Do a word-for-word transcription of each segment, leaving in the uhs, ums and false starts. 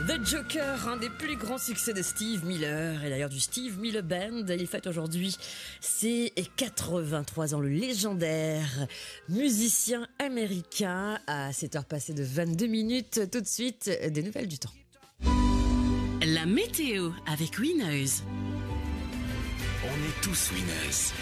The Joker, un des plus grands succès de Steve Miller, et d'ailleurs du Steve Miller Band. Il fête aujourd'hui ses quatre-vingt-trois ans, le légendaire musicien américain. À sept heures passées de vingt-deux minutes, tout de suite, des nouvelles du temps. La météo avec Winners. On est tous winners.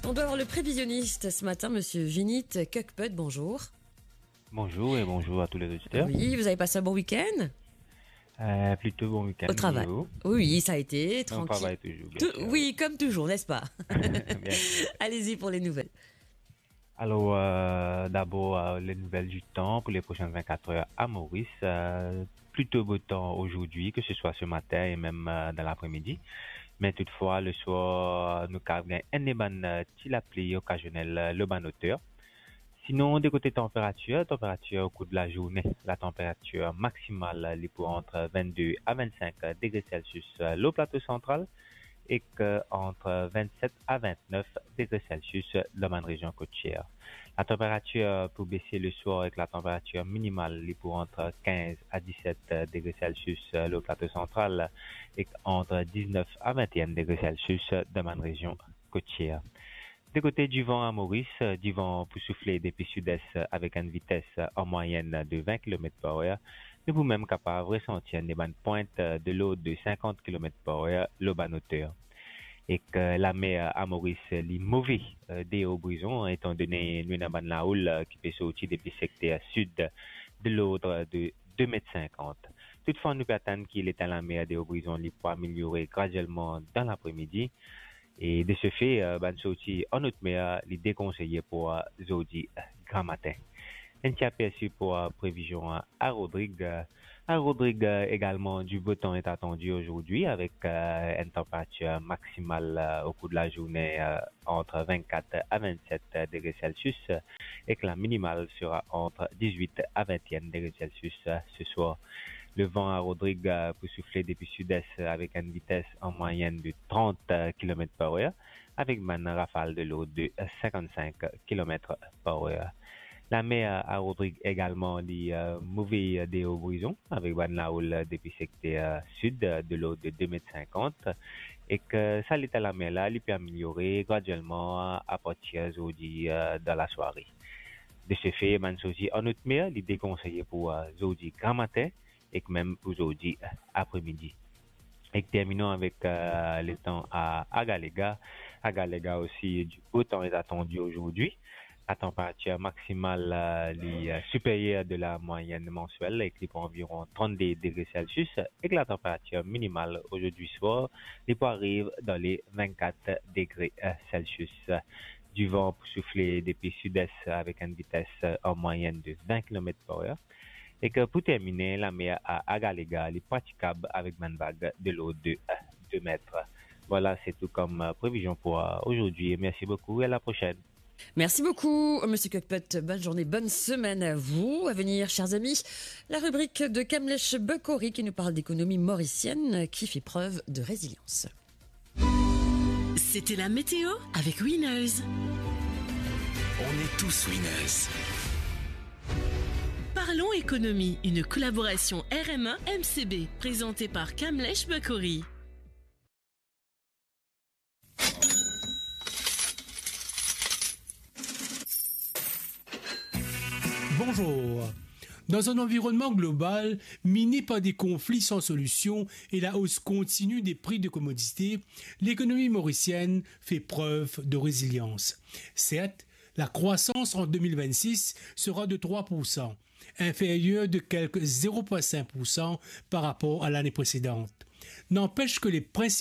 On doit avoir le prévisionniste ce matin, monsieur Vinit Kukput. Bonjour. Bonjour et bonjour à tous les auditeurs. Oui, vous avez passé un bon week-end ? Euh, plutôt bon week-end. Au travail. Et vous ? Oui, ça a été tranquille. On travaille toujours, bien sûr. Oui, comme toujours, n'est-ce pas ? Bien sûr. Allez-y pour les nouvelles. Alors, euh, d'abord, euh, les nouvelles du temps pour les prochaines vingt-quatre heures à Maurice. Euh, plutôt beau temps aujourd'hui, que ce soit ce matin et même, euh, dans l'après-midi. Mais toutefois, le soir, nou kav gagn enn bann, euh, ti lapli okazionel, euh, lor bann oter. Sinon, de kote tanperatir, tanperatir o kour de la zourne, la tanperatir maksimal, euh, li pou ant vingt-deux à vingt-cinq degrés Celsius, euh, lor plato santral, ek ant vingt-sept à vingt-neuf degrés Celsius dan bann rezion kotier. La tanperatir pou bese le swar ek la tanperatir minimal, li pou ant quinze à dix-sept degrés Celsius lor plato santral, ek ant diznef a vinteenn degré Celsius dan bann rezion kotier. De kote divan a Moris, divan pou soufle depi sides avek enn vites an mwayenn de vin kilomet par er, nou pou mem kapav resanti enn bann pwint de lord de sinkant kilomet par er lor bann oter. Ek, eh, lamer a Moris, li move, eh, deor Brizon, etandone nou ena bann laoul, eh, ki pe sorti depi sekter sid de lord de de met sinkant. Toutfwa, nou pe atann ki leta lamer deor Brizon, li pou ameliore gradielman dan lapremidi. E de se fe, eh, bann sorti an ot mer, li dekonseye pou, eh, zordi, eh, gramatin. Enn ti apersi pou, eh, previzion, eh, a Rodrig. Eh, a Rodrig, eh, egalman, du beau temps est attendu aujourd'hui avec, eh, enn tanperatir maksimal, eh, o kour de la zourne, eh, ant vintkat a vintset degré Celsius, eh, ek la minimal sera ant dizwit a vinteenn degré Celsius, eh, se swar. Levan a Rodrig, eh, pou soufle depi sides avek enn vites an mwayenn de trant kilomet par er, avek bann rafal de lord de sinkant-sink kilomet par er. Lamer a Rodrig egalman, li, eh, move deor Brizon, avek bann laoul depi sekter sid de lord de de met sinkant, ek sa leta lamer la, li pe ameliore gradielman apartir zordi, eh, dan lasware. De se fe, bann sorti an ot mer, li dekonseye pou, eh, zordi gramatin, ek mem pou zordi, eh, apremidi. Ek terminon avek, eh, letan a Agalega. Agalega osi, du beau temps est attendu aujourd'hui. La tanperatir maksimal, eh, li, eh, siperyer de la mwayenn mansiel, ek li pou anviron trant-de degré Celsius, ek la tanperatir minimal ozordi swar, li pou ariv dan le vintkat degré, eh, Celsius. Divan pou soufle depi sides avek enn vites, eh, an mwayenn de vin kilomet par er. Ek pou termine, lamer a Agalega, li pratikab avek bann vag de lord de, eh, de met. Voilà, c'est tout comme, eh, prévision pour, eh, aujourd'hui. Et merci beaucoup et à la prochaine. Merci beaucoup, monsieur Kukput. Bonne journée, bonne semaine à vous. À venir, chers amis, la rubrique de Kamlesh Bokori qui nous parle d'économie mauricienne qui fait preuve de résilience. C'était la météo avec Winners. On est tous winners. Parlons économie, une collaboration R M A M C B, présentée par Kamlesh Bokori. Bonjour. Dans un environnement global miné par des conflits sans solution et la hausse continue des prix de commodités, l'économie mauricienne fait preuve de résilience. Certes, la croissance en deux mille vingt-six sera de trois pour cent, inférieure de quelque zéro virgule cinq pour cent par rapport à l'année précédente. N'empêche que les principaux